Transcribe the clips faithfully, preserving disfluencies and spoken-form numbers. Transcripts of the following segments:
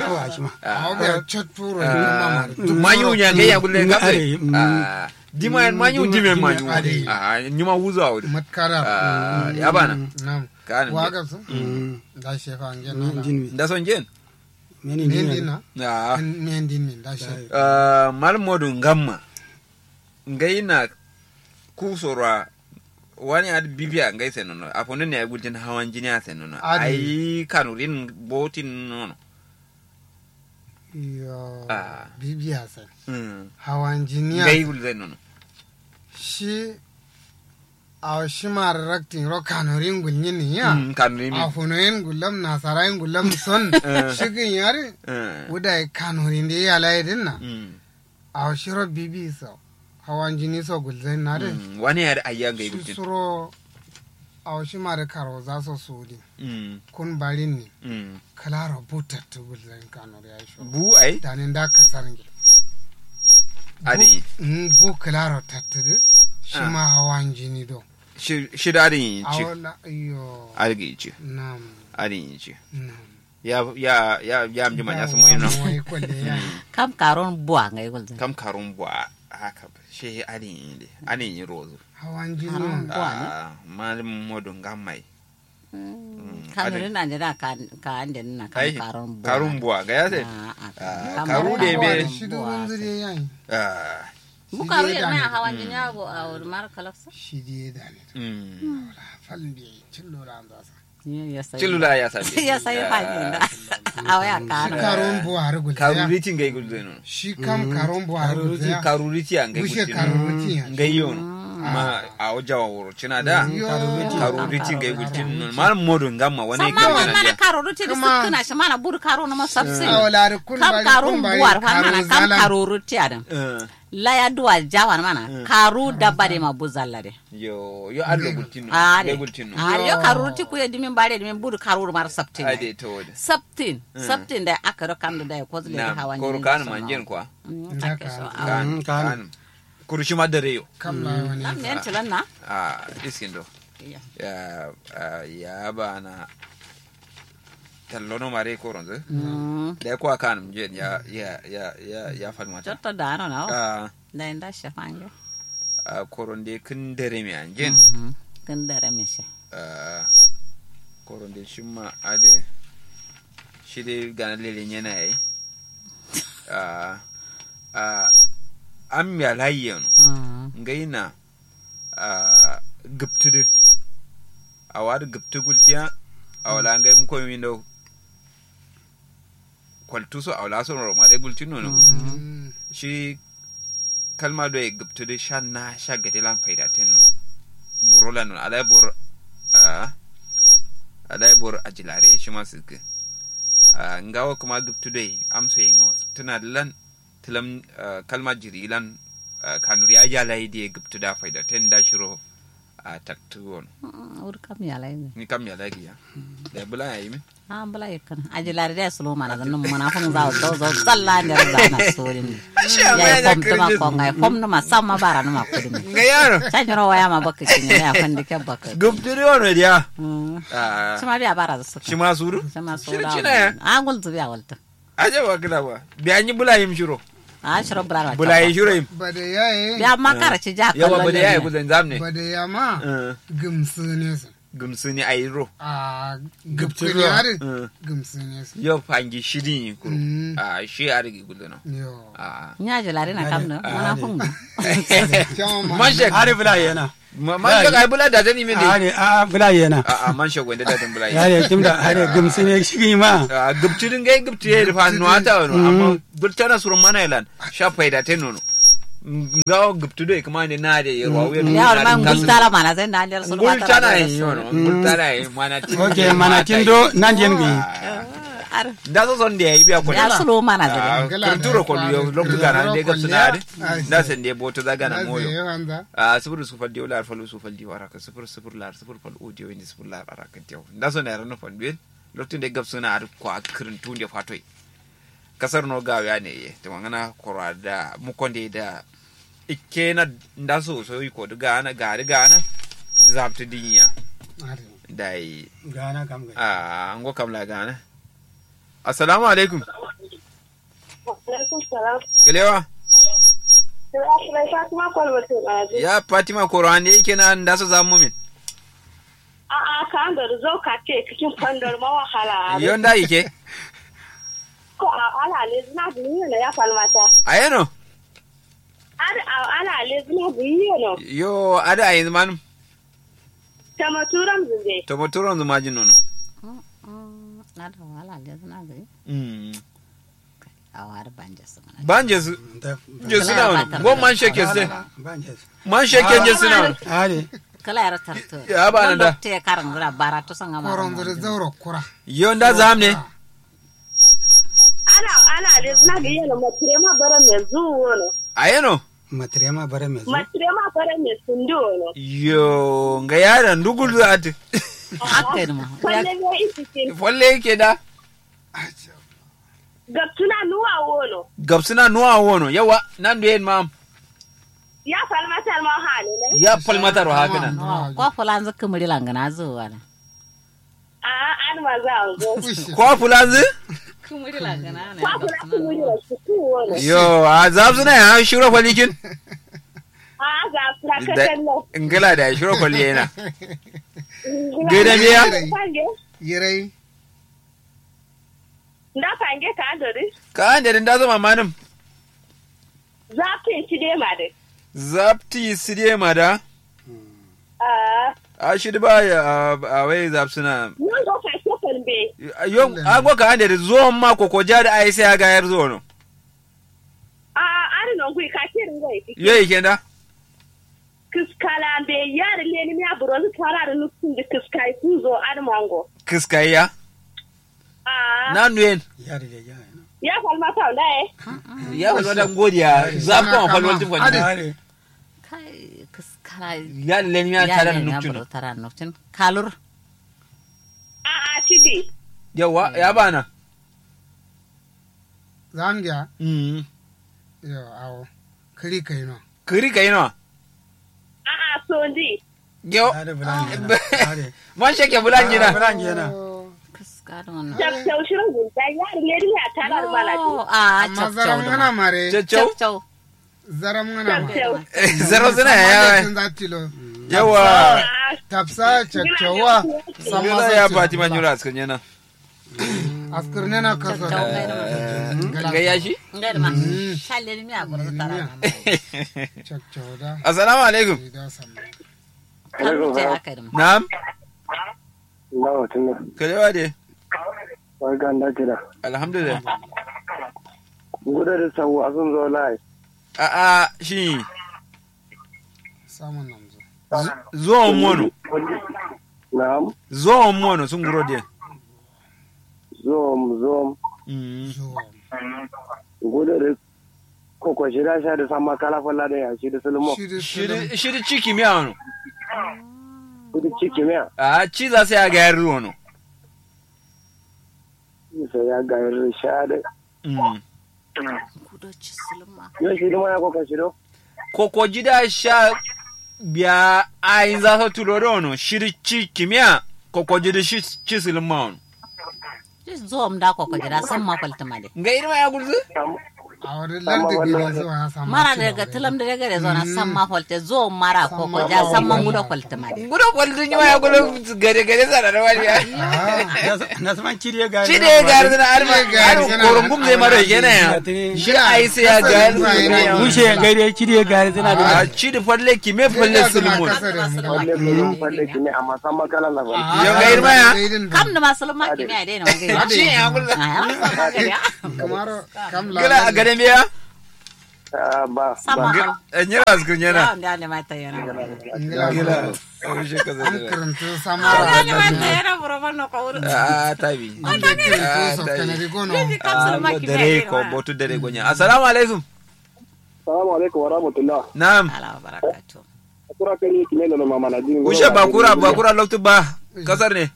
yawa shi ma. Awo biya catturo. Manyu nya ngai ya gulle kafe. Dima yan manyu dime manyu. Aha nyuma wuzo awuri. Matkara. Ya bana. Nam. Waga su. Da shefa ngen. Nda son ngen. Mendin na. Mendin min da shefa. Malum modu ngamma. Ngai na. Ku soro a wani ad bibiya ngai sai nono afono ne ai gultin hawan jini a sai nono ai kanurin botin nono. Yo. Bibiya sai hawan jini a ngai gulzai nono. Shi awo shi ma raktin ro kanurin gulnyin ya. Kanurin afono yin gullam nasara yin gullam son. Shigin yari. Wuda kanurin da ya layi dinna. Awo shiro bibi so hawan jini so gulzain na dai. Wani yari ayya ngai gultin suro. Awo shi ma da karo za so sudin. Kun barin ne. Kalaro bu tattu gulzain kanor ya yi shiro bu ai danin da kasar nge. Adi. Bu kalaro tattu dai. Shi ma hawan jini do. Shi da adi yin ci. Adi yin ci. Adi yin ci. Ya ya ya ya amji manya sumu ino. Kam karun bua ngai gulzin. Kam karun bua. Haka shi ani inde ani rozu. Hawan jini. Malum modu ngamai. Kanu ni nande na ka ande na kam karun bua. Karun bua ga ya sai. Karu de be. Shi du runzu de yayi. Mu karu ya mai hawan jini abu a wuri mara kalaksa. Shi de dane. Falin de cillo da an zasa. Cilula ya sabi. Ya sabi fajin da. Awa ya kano. Karun buhari gulzaya. Karuri ci ngai gulzai no. Shi kam karun buhari gulzaya. Karuri ci a ngai gulzai no. Ngai yo no. Ma awo jawa wuro cina da. Karuri ci ngai gulzai no. Mal modu ngamma wani. Samma wani mana karuri ci da sukkuna shi mana budu karo no ma sabsin. Kam karun buhari fa mana kam karuri ci a dan. Laya duwa jawan mana karu dabba de ma buzalla de. Yo yo allo gultinno. Are gultinno. Are yo karuru ti kuye dimin bare dimin budu karuru mar sabtin. Ade to wode sabtin. Sabtin da aka ro kamdo da ko zule hawa ni koro kan manjen kwa. Kan kan kuru shi ma dare yo. Kam na wani nam ne tilan na. A iskin do. Ya ya bana. Tallono mare koronzo. Da ko akan je ya ya ya ya ya falmata. Cotto dano na. Nda inda shefange. A koronde kǝn dare me anjen. Kǝn dare me she. Koronde shimma ade. Shide gana lele nyena yayi. A a am ya layi yeno. Ngai na. A gǝptǝ dǝ. Awa dǝ gǝptǝ gultiya. Awa la ngai muko mindo. Kwaltu so awo la so noro ma dai gultin nono. Shi kalma do ye gǝptǝ dǝ sha na sha gade lan faida ten nono. Buro lan nono alai bor. A alai bor ajilare shi ma sǝkkǝ. A ngawo kǝma gǝptǝ do ye amso ye no tǝna dǝ lan. Tǝlam kalma jiri lan. Kanuri aja lai diye gǝptǝ da faida ten da shiro. A taktǝ wono. Wur kam yalai ni kam yalai giya. Da bǝla yayi min. A bǝla yakkǝn ajilare dai sulo mana zannǝm mana fǝm zawo zau zau zalla nder zana sodin. Yayi fom tǝma ko ngai fom nǝma samma bara nǝma kudǝmi. Ngai yaro. Canyiro waya ma bakka kini ya fandi ke bakka. Gubtiri wono diya. Shima biya bara zasu shima suru. Shima suru. A ngul zubiya waltǝ. Aja ba kǝla ba. Biya nyi bǝla yim shiro. A shiro bǝla ba bǝla yi shiro yim. Biya ma kara ci ja yawa kallon bade yayi ne. Guzan zamne. Bade ya ma gǝmsǝ ne su. Gǝmsǝni ayiro. A gǝptǝni adǝ. Gǝmsǝni su. Yo fangi shidin yi kuru. A shi adǝ gi gullono. Yo. A nya jilari na kam no mana fun. Mashek adǝ bula yena. Mashek ai bula da zani min de. A bula yena. A mashek wanda da zan bula yena. Adǝ kimda adǝ gǝmsǝni shigi ma. Gǝptǝni ngai gǝptǝni ye fa no ata no amma gultana suro mana yelan. Sha faida te nono. Ngawo gǝptu doi kǝma nde na de yerwa wuye. Yawo ma ngultara mana sai na nde sulu ngultara ye yono. Ngultara ye mana tin. Ok mana tin do nan yen gǝyi. Nda so son de yayi biya ko ya sulu mana sai. Kǝrturo ko yo loktu gana nde gabsuna adǝ. Nda sai nde boto za gana moyo. A sufur sufur diyo lar falu sufur diyo araka sufur sufur lar sufur falu diyo indi sufur lar araka diyo nda so na yarano fanduyen. Loktu nde gabsuna adǝ kwa kǝrǝntu nde fatoi. Kasar no gawo ya ne ye tǝmangana koro adǝ da mukonde da. Ikkena nda so so iko dǝ gana gari gana. Zabtǝ dinya. Dai gana kam gari. A ngo kam la gana. Assalamu alaikum. Alaikum salam. Kalewa. Ya fatima koro ande ikkena nda so zamu min. A'a kando dǝ zau katte kǝcin fandor ma wahala. Yo nda ike. Ko a ala lezǝna dǝ niyeno ya falmata. Ayeno. Adǝ a ala lezǝna dǝ niyeno. Yo adǝ a yanzǝ manǝm. Tamaturam zǝnde. Tamaturam zǝ majin nono. Adǝ a ala lezǝna dǝ. Awa adǝ banjesu. Banjesu. Njesu na wano ngo man shekke ste. Man shekke njesu na wano. Kǝla yaro tarto ya bana da. Te karan gura bara to sanga ma koron zure zauro kura. Yo nda zam ne. Ala ala lezǝna gǝ yeno matirema bara me zu wono. Ayeno. Matirema bara me zu. Matirema bara me sundu wono. Yo nga yara ndugul zu ati. Akke duma. Folle ne isikin folle yake da. Gabsǝna nuwa wono. Gabsǝna nuwa wono yawa. Nandu yen mam. Ya falmatar ma hane ne. Ya falmatar wa hakǝna. Kwa fulanzǝ kǝmǝri langǝna zǝ wala. A'a adǝ ma zǝ ango. Kwa fulanzǝ. Kǝmǝri langǝna ne. Kwa fulanzǝ kǝmǝri wa sukku wono. Yo a zafsǝna ya shiro falikin. A'a zafsǝna kakallo. Ngila da shiro fali yana. Gede biya. Yirai. Nda kange ka ando dǝ. Ka ande dǝ nda zama manǝm. Zapti side ma dǝ. Zapti side ma da. A shi dǝ ba a wai zapsuna. Yo ngo ka shokon be. Yo a ngo ka ande dǝ zuwan ma kokoja dǝ ai sai a gayar zuwa no. A'a adǝ nongui ka kirin ngo ike. Yo ike nda. Kǝskala mbe yarǝ lenimiya buronzǝ tara dǝ nuksun dǝ kǝskai kuzo adǝ mango. Kǝskai ya. A'a nandu yen. Ya falmata wala ye. Ya falmata ngodiya. Zafko ma falmata fadi. Kai kǝskala. Yarǝ lenimiya tara dǝ nuksun. Tara dǝ nuksun kalur. A'a cidi. Yawa ya bana. Zangiya. Yo awo. Kǝri kaino. Kǝri kaino. A'a sondi. Yo. Man shake bulanjina. Bulanjina. Chakchau shiro gulta yari ne dina tara bala. A'a chakchau. Zaram ngana mare. Chakchau. Zaram ngana mare. Zaram zina ya. Yawa. Tapsa chakchauwa. Sama ya fatima nyura askan yana. Askar ne na kasa. Ngai ya shi. Ngai da ma shalle ni miya gurzu tara. Assalamu alaikum. Na'am. Kalewa de. Alhamdulillah. Guda da sawu asun zo lai. A'a shi. Samun namzo. Zuwan mono. Na'am. Zuwan mono sun guro de. Zom zom. Gudu da koko shida sha da samma kala falla da ya shida sulmo. Shida ciki miya wano. Shida ciki miya. A ci za sai a gayar ruwa no. Sai ya gayar sha da. Yo shidi mana koko shido. Koko jida sha. Biya ayin za so tulo do no shidi ci kimiya. Koko jidi shi ci silin ma wono. Shi zom da koko jida san ma falti ma de. Nga irma ya gulzu. Mara da ga tilam da gare zona san ma falte zom mara koko jida san ma ngudo falti ma de. Ngudo falti ni ma ya gulo. Gare gare sana da wani ya. Nasman cide gare. Cide gare sana arma. Arma korongum zai maro yana ya. Shi ai sai ya gare. Mushe gare cide gare sana da. Cide falle kime falle sulmun. Falle kime amma san makala na falle. Yau ga irma ya. Kam da masulma kime ya dai na wangai. Shi ya gulo. Kamaro kam la. Gala a gare me ya. Ah, ba. Sama. Ba. Nyira askir nyena. Nda ne mata yana. Ngila. Ngila. An karantu sama. Nda ne mata yana buro ban no kawuru. Ah, tabi. An karantu so kanari gono. Dare ko botu dare gonya. Assalamu alaikum. Assalamu alaikum wa rahmatullah. Na'am. Ala barakatu. Kura kani kime da mama na jin. Ushe ba kura ba kura loktu ba. Kasar ne.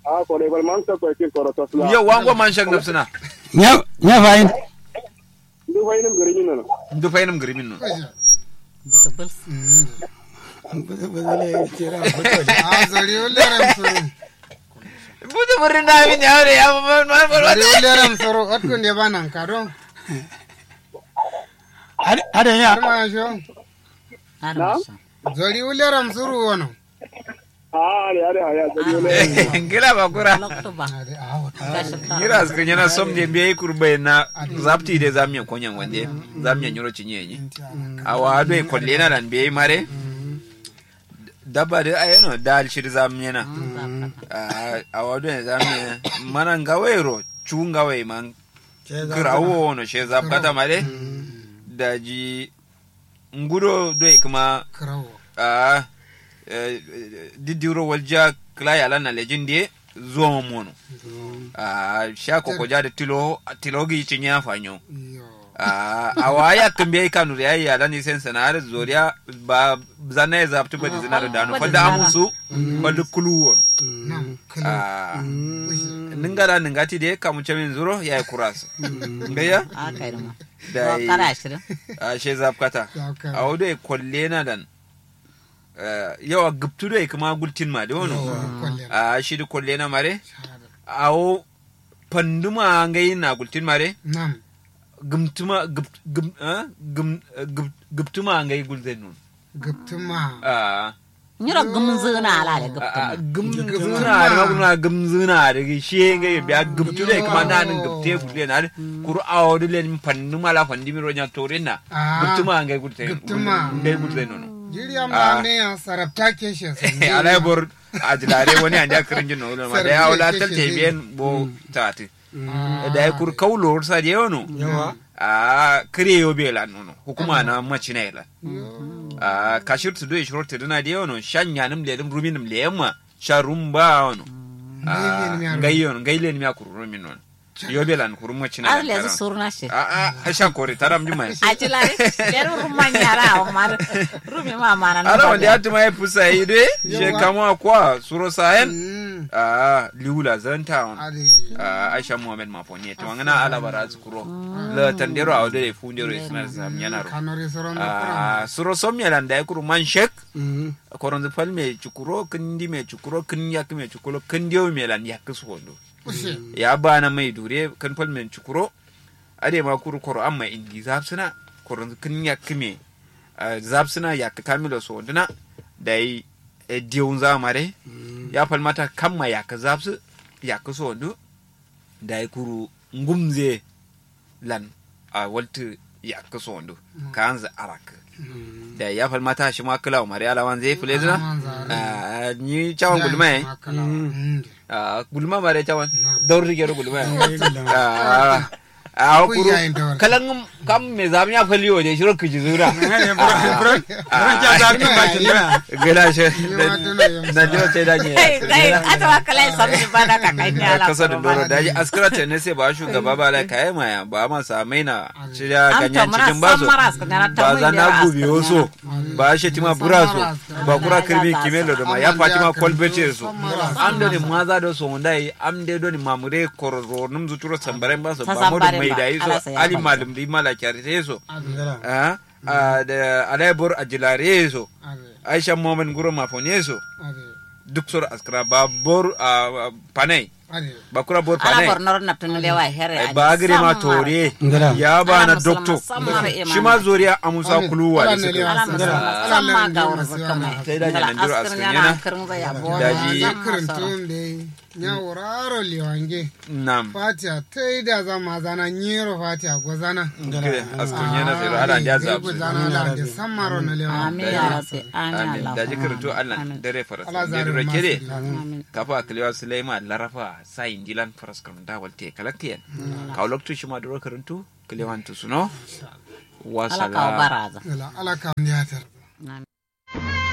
A ko dai bal man sa ko kin koro tasla. Yo wango man shak nafsina. Nya nya fayin. Ndu fayin gari min no. Ndu fayin gari min no. Buta bal. Buta bal le kira buta. A zori ulle ram suru. Buta burin da min ya re ya man man man. Zori ulle ram suru atkun de banan kado. Ada ada ya. Ada masyo. Ada masyo. Zori ulle ram suru wono. Ngila bakura. Nyira askir nyena som de mbiya ikur bai na. Zapti de zamiya konyan wande zamiya nyiro cinye nyi. Awa do kolle na dan mbiya mare. Dabba de ayeno dal shir zamiya na. Awa do zamiya mana ngawai ro cu ngawai man. Kirawo no she zapkata mare. Daji ngudo doi kuma. Kirawo. Aa. Diddiwuro waljiya kla yalan na lejin diye. Zuwa mono. Aa sha koko ja da tilo tilo gi cinye afanyo. Aa awa ya kambe kanu ya yalan ni sen sana har zoriya. Ba zanna ya zaptu ba dizina da dano falda amusu. Falda kulu wono. Aa ningala ningati de kamu camin zuro ya yi kurasu. Ngayya. Dai. Ashe zapkata. Awo doi kollena dan. Yawa gubtu doi kuma gultin ma de wono. Ashi di kollena mare. Awo fanduma ngai na gultin mare. Gumtuma gubtuma ngai gulzai non. Gubtuma. Nyiro gumzuna ala de gubtuma. Gumzuna ala gumzuna ala de shiye ngai biya gubtu de kuma na nin gubte gulzai na. Kuru awo de len fannu mala fandu miro nya torina. Gubtuma ngai gulzai. Gubtuma ngai gulzai nono. Jiri amma ne ya sarabta ke shi. Ala bor ajilare wani anja kirin jin no ma da ya wala talte biyen bo tati. Dai kur kau lor sa de wono. Ahh kǝre yobe lan wono hukuma na macina ye lan. Ahh kashir tudu ye shiro tǝdǝna de wono sha nyanǝm lenǝm ruminǝm leyemma sha rum ba wono. Ahh ngai yono ngai lenǝm ya kuru rumin wono. Yobe lan kuru macina ye lan. Ahh sha kore taram juma ye. Aci lari lenǝm rum ma nyara awo ma dǝ. Rumi ma mana na ala wande atuma ye fusa ye doi she kamo akwa suro sayen. Ahh liwu la zanta wono. Ahh aisha muhammed ma foniye tuma ngǝna ala bara zǝ kuro. Latan dero awo dole fu ndero ye sǝna zam nyanaro. Ahh suro som ye lan dayi kuru man shek. Koronzǝ fal me cukuro kǝndi me cukuro kǝn yakkǝ me cukuro kǝn dewu me lan yakkǝ suwondu. Ya bana mai dure kǝn fal me cukuro. Adai ma kuru koro amma indi zafsǝna. Koronzǝ kǝn yakkǝ me zafsǝna yakkǝ kamilo suwonduna. Dayi dewunza mare. Ya fal mata kamma yakkǝ zafsǝ yakkǝ suwondu. Dayi kuru ngumze lan a waltǝ yakkǝ sondu. Kaanzǝ arakkǝ. Dayi ya fal mata shima kǝlawo mare alawanzǝ ye fǝlezǝna. Nyi cawan gulma ye. Gulma mare cawan. Daur dǝ gero gulma ye. Awo kuru kalangǝm kam me zamiya fal yo de shiro kǝjizǝ wura. Buron buron buron ca zamiya fal yo de shiro kǝjizǝ wura. Gela she. Nandiro te da nye. Atawa kala ye samji bana kakai ni ala kasa dundoro daji askira tenese ba shugaba ba lai kaye maya ba ma sa maina. Shirya ganyen cikin baso. Ba zana gubiyo so. Ba shetima buraso. Ba kura kirmi kimelo doma ya fatima kolbete so. Am doni maza do so ndai am de doni mamure kororo num zuturo sambaren baso ba modu mai dai so. Ali malum di mala kyarite so. Ahh da alai bor ajilare so. Aisha momen nguro mafone so. Duk soro askǝra ba bor ahh panai. Ba kura bor panai. Ba gǝre ma tore. Ya ba na dokto. Shima zoriya amusa kuluwa de sǝkǝ. Sai da nyanandiro askǝnyena. Daji. Nya wuraro lewange. Nam. Fatiya taida za mazana nyiro fatiya gozana. Askǝnyena sai ro ala ndia zabsǝ. Gozana ala ndia sammaro na lewa. Amin ya rabbi. Amin daji kǝrǝntu allan dare faras ndia duro kede. Kafa kǝlewa sulaima larafa sa indilan faras kǝrǝnda walte kalaktiyen. Kawo loktu shima duro kǝrǝntu kǝlewan tusuno. Wasala. Alaka baraza. Alaka ndiya tar.